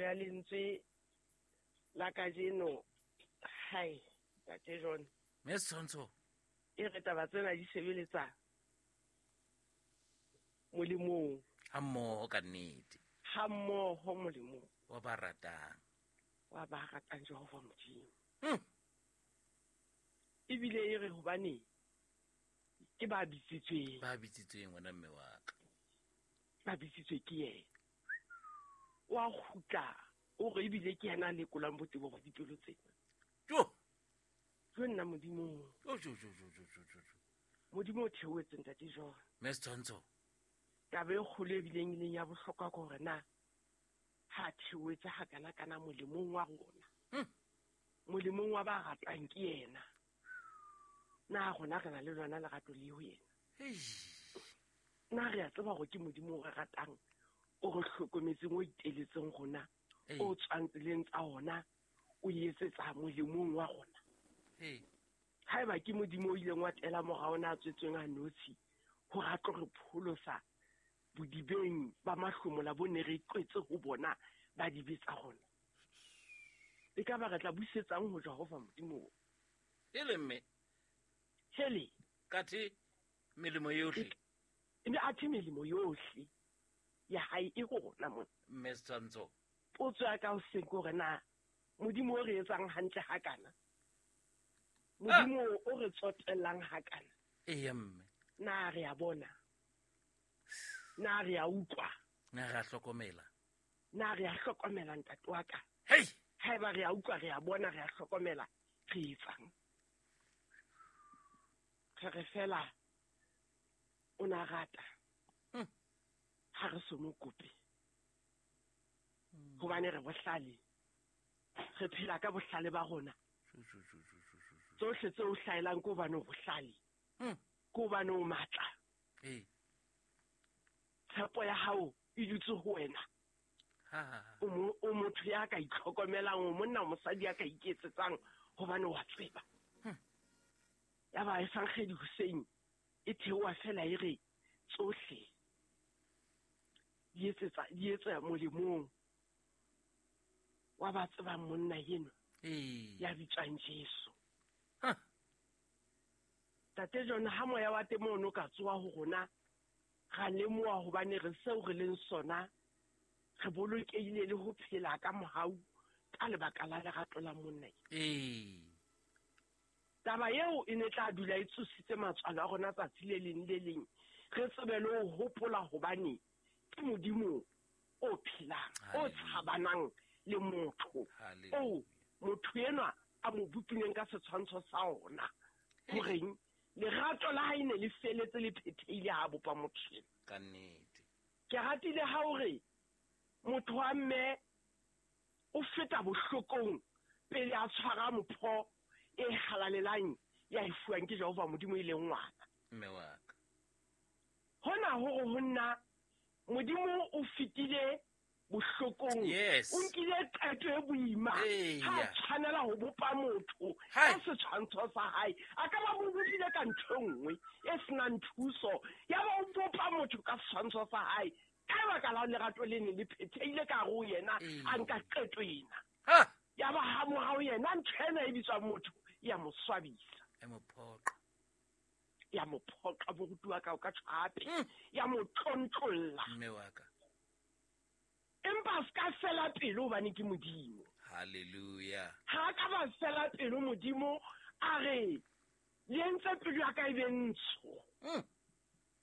ya lentswe la kajeno, hai, Ntate John. Mme Setshwantsho. E re taba tsena di sebeletsa molemong. Ha mmoho ka nnete. Ha mmoho molemong. Wa ba ratang. Wa ba ratang Jehova Modimo. Ebile e re hobane ke ba bitsitsweng. Ba bitsitsweng wena mme wa ka. Ba bitsitswe ke yena. Wa kgutla o re ebile ke yena a lekolang botebo ba dipelo tsena. Jo. Jo nna Modimo. Jo jo jo jo jo jo jo. Modimo o theohetse Ntate John. Mme Setshwantsho. Taba e kgolo e bileng e leng ya bohlokwa ke hore na ha theohetse ha kana kana molemong wa rona. Molemong wa ba ratang ke yena. Na rona re na le lona lerato le ho yena? Na re a tseba hore ke Modimo o re ratang, o re hlokometseng, o iteletseng rona, o tswang tseleng tsa ona, o etsetsa molemong wa rona. Haeba ke Modimo o ileng wa tela mora ona a tswetsweng a notshi hore a tlo re pholosa bodibeng ba mahlomola bo ne re qwetse ho bona ba dibe tsa rona. E ka ba re tla busetsang ho Jehova Modimo. Ele mme. Hele. Kathe melemo yohle. Mme athe melemo yohle ya hae e ho rona mona. Mme Setshwantsho. Potso ya ka hoseng ke hore na Modimo o re etsang hantle hakana, Modimo o re tsotellang hakana. Eya mme. Na re a bona? Na re a utlwa? Na re a hlokomela? Na re a hlokomela ntate wa ka? Hei! Haeba re a utlwa, re a bona, re a hlokomela, re etsang? Re re fela o na rata. Ha re so mo kope. Hobane re bohlale. Re phela ka bohlale ba rona. Tsohle tse o hlaelang ke hobane o bohlale. Ke hobane o matla. Tshepo ya hao e dutse ho wena. O motho ya ka itlhokomelang, o monna, o mosadi ya ka iketsetsang hobane wa tseba. Ya ba Evangeli hoseng e theoha fela e re tsohle di etsetsa di etsa molemong wa ba tsebang monna eno ya bitswang Jesu. Tate John, ha moya wa temo ono ka tsoa ho rona, ra lemoha hobane re seo re leng sona, re bolokehile le ho phela ka mohau ka lebaka la lerato la monna. Taba eo e ne tla dula e tsositse matswalo a rona tsatsi le leng le leng, re tsebe le ho hopola hobane ke Modimo o phelang, o tshabanang le motho, o motho enwa a mo bopileng ka setshwantsho sa ona. Horeng lerato la hae ne le feletse le phethehile ha bopa motho ena. Ka nnete. Ke ratile ha hore motho wa mme o feta bohlokong pele a tshwara mpho e halalelang ya e fuwang ke Jehova Modimo e leng ngwana. Mme wa ka. Hona hore ho nna Modimo o fetile bohlokong. Yes. O nkile qeto e boima. Ha tshwanela ho bopa motho ka setshwantsho sa hae. A ka ba mo bopile ka ntho e nngwe e senang thuso. Ya ba o bopa motho ka setshwantsho sa hae. Ka lebaka la lerato le ne le phethehile ka hare ho yena, a nka qeto ena. Ya ba ha morao yena ntho ena e bitswang motho ya mo swabisa. E mo phoqa. Ya mo phoqa moruti wa ka o ka tjho hape. Ya mo tlontlolla. Mme wa ka. Empa se ka fela pelo hobane ke Modimo. Hallelujah. Ha ka ba fela pelo Modimo a re le entse pelo ya ka e be ntsho.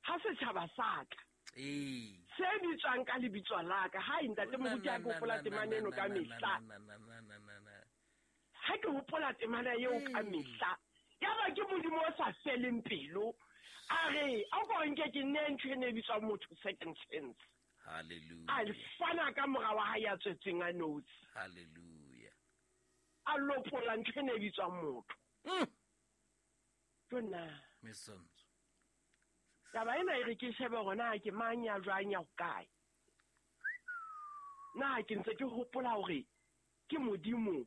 Ha setjhaba sa ka. Se bitswang ka lebitso la ka. Hai ntate moruti ha ke hopola temana eno ka mehla. Ha ke hopola temana eo ka mehla. Ya ba ke Modimo o sa feleng pelo. A re a ko nke ke nne ntho e ne e bitswang motho second chance. Hallelujah. A fana ka mora wa hae ya tswetsweng a notshi. Hallelujah. A lopola ntho e ne e bitswang motho. Jonna. Mesonzo. Taba ena e re ke shebe hore na ke mang ya jwang ya hokae. Na ke ntse ke hopola hore ke Modimo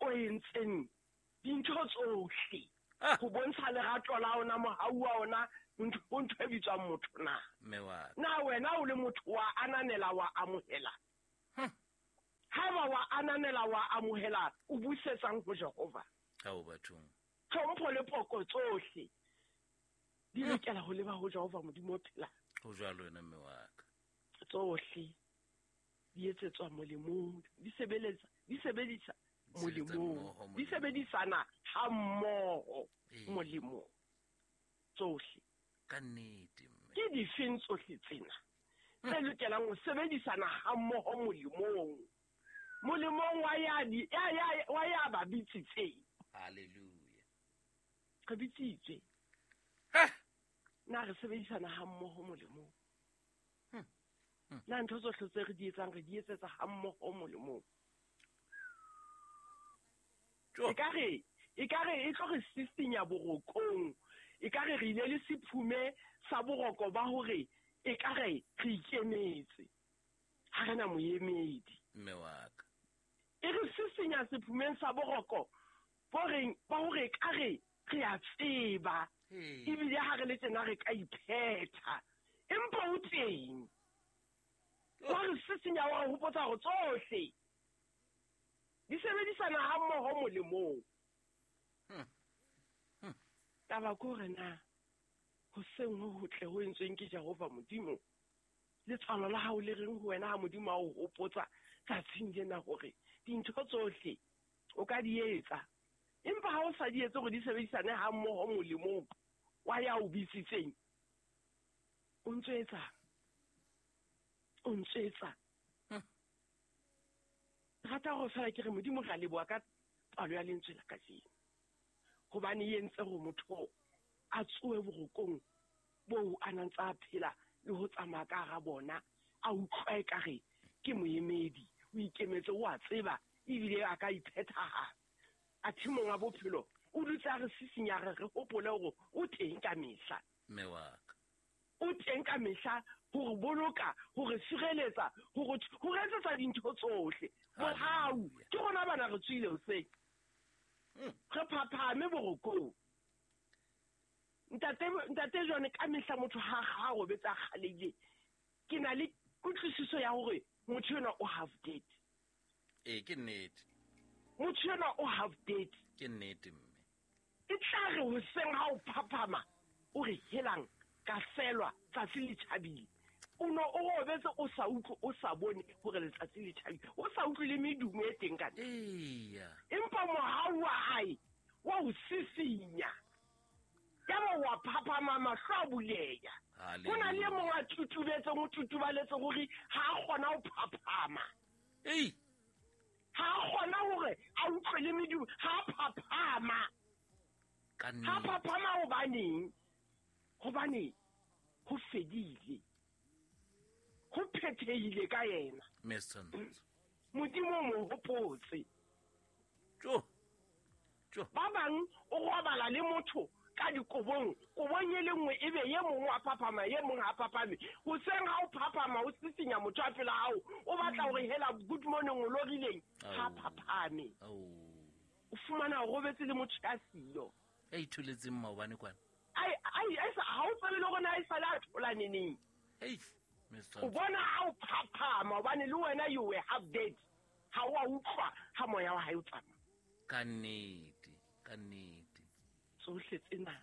o entseng dintho tsohle ho bontsha lerato la ona, mohau wa ona, ho ntho e bitswang motho na. Mme wa ka. Na wena o le motho wa ananela, wa amohela? wa ananela wa amohela o busetsang ho Jehova? Ao bathong. Tlhompho le poko tsohle di lokela ho leba ho Jehova Modimo o phelang. Ho jwalo wena mme wa ka. Tsohle di etsetswa molemong, di sebeletsa, di sebedisa molemong, di sebedisana ha mmoho molemong. Tsohle. Ka nnete mme. Ke difeng tsohle tsena tse lokelang ho sebedisana ha mmoho molemong? Molemong wa ya di ya wa ya ba bitsitseng. Hallelujah. Re bitsitswe. Na re sebedisana ha mmoho molemong? Na ntho tsohle tse re di etsang re di etsetsa ha mmoho molemong? Ekare e tlo re sisinya borokong, ekare re ile le sephume sa boroko ba hore ekare re ikemetse, ha re na moemedi. Mme wa ka. E re sisinya sephumeng sa boroko ba hore ekare re a tseba, ebile ha re le tjena re ka iphetha, empa o teng. Wa re sisinya wa re hopotsa hore tsohle di sebedisana ha mmoho molemong. Taba ke hore na hoseng ho hotle ho entsweng ke Jehova Modimo, letswalo la hao le reng ho wena ha Modimo a o hopotsa tsatsing lena hore dintho tsohle o ka di etsa, empa ha o sa di etse hore di sebedisane ha mmoho molemong wa ya o bitsitseng, o ntso etsa, o ntso etsa. Rata hore fela ke re Modimo re a leboha ka palo ya lentswe la kajeno, hobane e entse hore motho a tsohe borokong boo a nang tsa phela le ho tsamaya ka hara bona, a utlwa ekare ke moemedi, o ikemetse, o a tseba ebile a ka iphethahatsa. Athe monga bophelo o dutse a re sisinya, re re hopole hore o teng ka mehla. Mme wa ka. O teng ka mehla hore boloka, hore sireletsa, hore etsetsa dintho tsohle. Mohau ke rona bana re tswile hoseng, re phaphame borokong. Ntate jone ka mehla motho ha robetse a kgalehile, ke na le kutlwisiso ya hore motho enwa o half dead. Ee, ke nnete. Motho enwa o half dead. Ke nnete mme. E tla re hoseng ha o phaphama o re helang ka selwa tsatsi le tjhabile. O no o robetse o sa utlwe, o sa bone hore letsatsi le tjhabile, o sa utlwe le medumo e teng ka ntle. Eya. Empa mohau wa hae wa o sisinya, yaba wa phaphama, mahlo a buleya. Ho na le e mong a tutubetseng, o tutubaletse hore ha a kgona ho phaphama. Ei. Ha a kgona hore a utlwe le medumo, ha a phaphama. Ha phaphama hobaneng? Hobane ho fedile, ho phethehile ka yena. Modimo o mo hopotse. Ba bang o robala le motho ka dikobong, kobong e le nngwe ebe ye mongwe a phaphama, ye mongwe a phaphame. Hoseng ha o phaphama o sisinya motho a pela hao, o batla hore hela good morning o lorileng, ha phaphame. O fumana o robetse le motho ya siyo. Ya itholetseng maobane kwana. Ai ha o tsebe le hore na e sale a thola neneng. O bona ha o phaphama hobane le wena you were half dead. Ha o a utlwa ha moya wa hae o tsamaya. Ka nnete, ka nnete. Tsohle tsena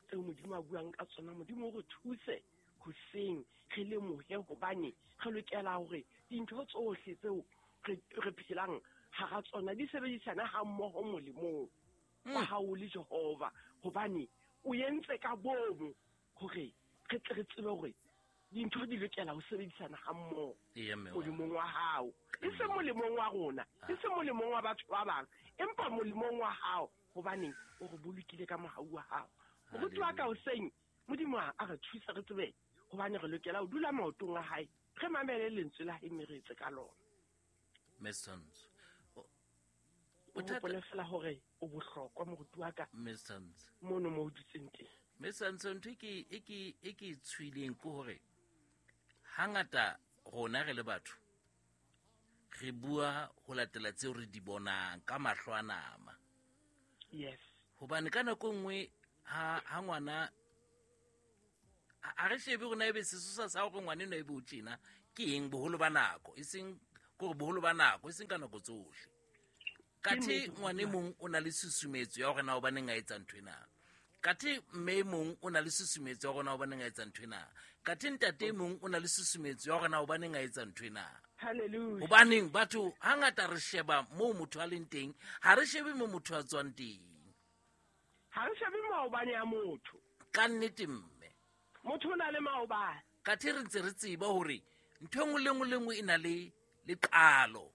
tseo Modimo a buang ka tsona, Modimo o re thuse hoseng re lemohe hobane re lokela hore dintho tsohle tseo re phelang hara tsona di sebedisana ha mmoho molemong wa hao le Jehova, hobane o entse ka bomo hore re tle re tsebe hore dintho di lokela ho sebedisana ha mmoho molemong wa hao, e seng molemong wa rona, e seng molemong wa batho ba bang, empa molemong wa hao, hobane o re bolokile ka mohau wa hao. Moruti wa ka hoseng, Modimo a re thuse re tsebe hobane re lokela ho dula maotong a hae, re mamele lentswe la hae mme re etse ka lona. Messons. O hopole fela hore o bohlokwa moruti wa ka. Messons. Mono mo o dutseng teng. Messons, ntho e ke tshwileng ke hore hangata rona re le batho re bua ho latela tseo re di bonang ka mahlo a nama. Yes. Hobane ka nako nngwe ha ngwana a re shebe rona ebe sesosa sa hore ngwana eno ebe o tjena ke eng boholo ba nako, e seng Ke gore boholo ba nako, e seng ka nako tsohle. Kathe ngwane mong o na le susumetso ya hore na hobaneng a etsa ntho ena. Kathe mme mong o na le susumetso ya hore na hobaneng a etsa ntho ena. Kathe ntate mong o na le susumetso ya hore na hobaneng a etsa ntho ena. Hallelujah. Hobaneng batho hangata re sheba moo motho a leng teng, ha re shebe mo motho a tswang teng. Ha re shebe maobane a motho. Ka nnete mme. Motho o na le maobane. Kathe re ntse re tseba hore ntho e nngwe le nngwe le nngwe e na le leqalo.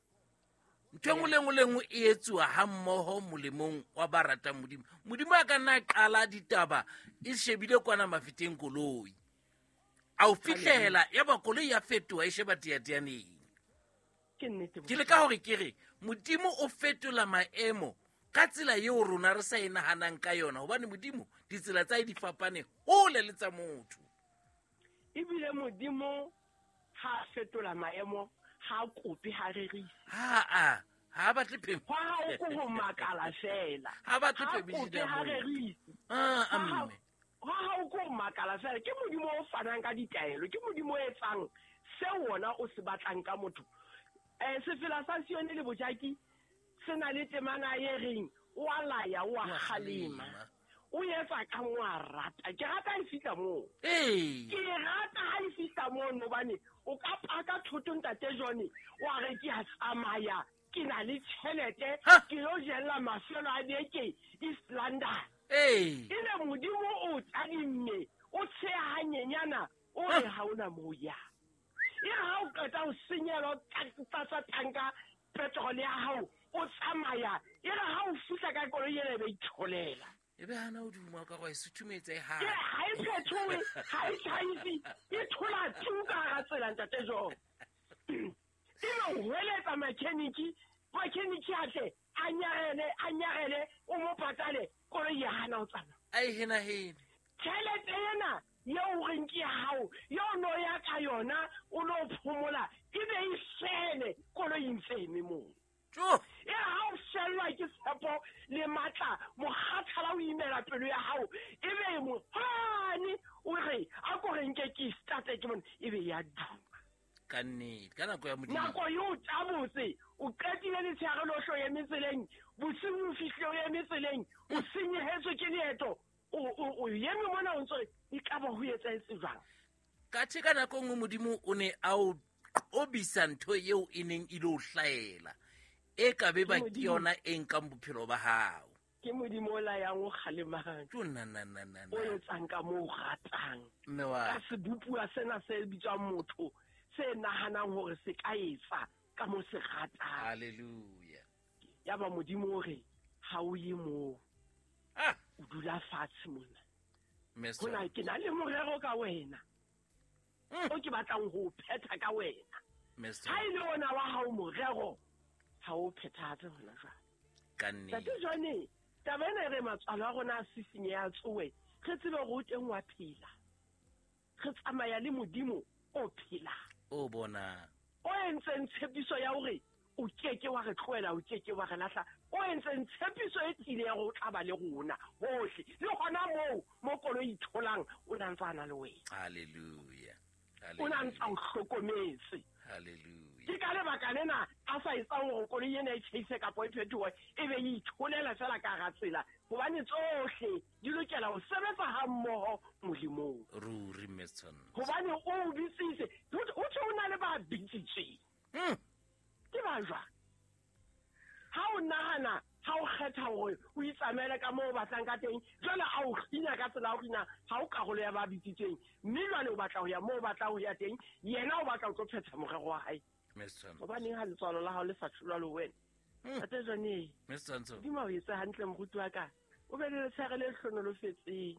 Ntho e nngwe le nngwe le nngwe e etsuwa ha mmoho molemong wa ba ratang Modimo. Modimo a ka nna a qala ditaba e shebile kwana mafeteng koloi. A o fihlela ya ba koloi ya fetoha e sheba teateaneng. Ke nnete. Ke leka hore ke re Modimo o fetola maemo ka tsela eo rona re sa e nahanang ka yona, hobane Modimo ditsela tsa hae di fapane hole le tsa motho. Ebile Modimo ha a fetola maemo, ha a kope, ha rerise. Ha a batle phemelo. Hwa hao ke ho makala fela. Ha batle Ha phemelo kope, ya ha motho. rerise. Mme. Hwa hao ke ho makala fela. Ke Modimo o fanang ka ditaelo, ke Modimo o etsang seo wona o se batlang ka motho. Sefela sa Sione le Bojaki se na le temana e reng, o a laya, o a O a kgalema. kgalema. O etsa ka mo a rata. Ke rata e fihla moo. Ke rata ha e fihla moo, hobane o ka paka thoto ntate John, wa re ke a tsamaya, ke na le tjhelete, ke lo jella mafelo a beke East London. Ebe Modimo o tadimme, o tsheha hanyenyana, o re ha ona moo ya. E re ha o qeta ho senyelwa tlatsa tanka petrol ya hao, o tsamaya, e re ha o fihla ka koloi ena e be itholela. E be hana o duma ka gore e suthumetse e Ke hana. ha e phethohe, ha e tjhaise, e thola tu ka hara tsela ntate John. Ebe o hweletsa mechanic, mechanic a tle, a nyarele, a nyarele, o mo patale, koloi ya hana ho tsamaya. A e henahene. Tjhelete ena eo o reng ke ya hao, eo no ya ka yona, o lo phomola, e be e fele, koloi e ntse eme moo. Tjo! E ha o fellwa ke tshepo le matla, mokgathala o imela pelo ya hao, e be mohane o re, a ko re nke ke starte ke bone, e be ya duma. Ka nnete, ka nako ya Modimo. Nako eo tabotse, o qetile letshehare lohle o eme tseleng, bosiu o fihlile o eme tseleng, o senyehetswe ke leeto, o eme mona o ntso re, ekaba ho etsahetse jwang? Kathe ka nako e nngwe Modimo o ne a o qobisa ntho eo e neng e lo hlahela, e ka be ba Ke ke Modimo. yona e nkang bophelo ba hao. Ke Modimo o layang o kgalemang. Tjo, na, na, na, na, na. O etsang ka moo o ratang. Mme wa Ka sebopuwa sena se bitswang motho, se nahanang hore se ka etsa ka moo se ratang. Hallelujah. Yaba Modimo o re, ha o ye moo. O dula fatshe mona. Mme Hona Sona. ke na le morero ka wena. O ke batlang ho o phetha ka wena. Mme Ha Sona. e le ona wa hao morero, ha o phethahatse hona jwale. Ka nnete. Ntate Johnny, taba ena e re matswalo a rona a sisinye a tsohe, re tsebe hore o teng wa phela. Re tsamaya le Modimo o phelang. O bona. O entseng tshepiso ya hore o keke wa re tlohela, o keke wa re lahla. O entseng tshepiso e tiileng ya hore o tla ba le rona hohle. Le hona moo, mo koloi e tholang, o na ntse a na le wena. Hallelujah. O na ntse a o hlokometse. Hallelujah. Ke ka lebaka lena a sa etsang hore koloi ena e tjhaise kapa e phetohe, e be e itholela fela ka hara tsela, hobane tsohle di lokela ho sebetsa ha mmoho molemong. Ruri, Mme Tshwantsho. Hobane o o bitsitse, ho thwe o na le ba bitsitsweng. Ke ba jwang? Ha o nahana, ha o kgetha hore o itsamaele ka moo o batlang ka teng, jwale a o kgina ka tsela ya ho kgina, ha o karolo ya ba bitsitsweng, mme jwale o batla ho ya moo o batlang ho ya teng, yena o batla ho tlo phetha morero wa hae. Mme Tshwantsho. Hobaneng ha letswalo la hao le sa tholwa le wena? Ntate Johnny, Mme Tshwantsho. Modimo a o etse hantle, moruti wa ka. O be le letshehare le hlonolofetseng.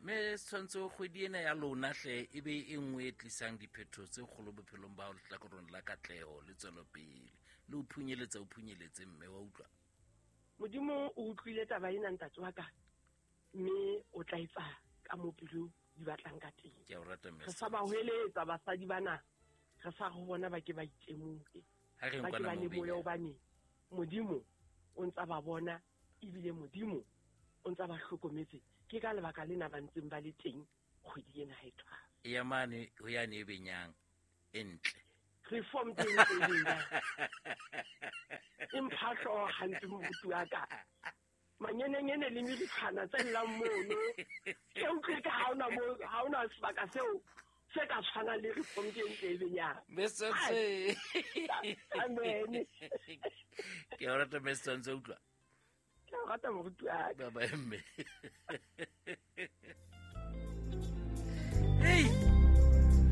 Mme Tshwantsho, kgwedi ena ya lona hle e be e nngwe e tlisang diphetho tse kgolo bophelong ba hao lehlakoreng la katleho le tswelopele. Le o phunyeletsa, o phunyeletse, mme wa utlwa. Modimo o utlwile taba ena, ntate wa ka, mme o tla etsa ka moo pelo di batlang ka teng. Ke a o rata, mme Re sa ba Tshwantsho. hweletsa basadi bana, re sa re bona ba ke ba itemohe. Ha re Ba ke nkwana ba moo lemohe benyang. hobane Modimo o ntsa ba bona, ebile Modimo o ntsa ba hlokometse. Ke ka lebaka lena ba ntseng ba le teng kgwedi ena ha e thwasa. E ya mane ho yane e benyang, e ntle. Reform teng teng e mpha hlooho hampe moruti wa ka. Manyenenyene le meritshana tse llang mono. Ke utlwe ka ha ona mo ha ona sebaka seo se ka tshwanang le reform teng teng ya. Mr. Amen. Ke o rata Mr. Ntse utlwa. Ke o rata moruti wa ka. Bye bye mme.